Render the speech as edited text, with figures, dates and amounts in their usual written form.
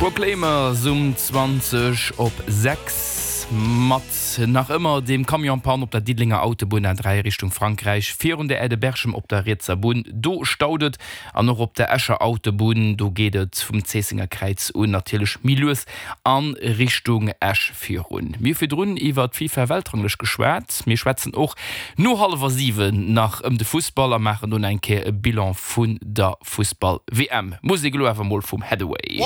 Proclaimers um 20 op 6 mat nach ëmmer dem Camion en panne op der Diddelenger Autobunn A3 Richtung Frankräich virun der Aire de Berchem op der rietser Bunn. Do staut et an och op der Escher Autobunn, do geet et vum Zéissenger Kräiz un natierlech méi lues a Richtung Esch virun. Mir hu virdrun iwwer d'FIFA-Weltranglëscht geschwat. Mir schwätzen och no hallwer 7 nach ëm de Fussball a maachen do nach eng Kéier e Bilan vun der Fussball-WM. Musek elo awer mol vum Haddaway.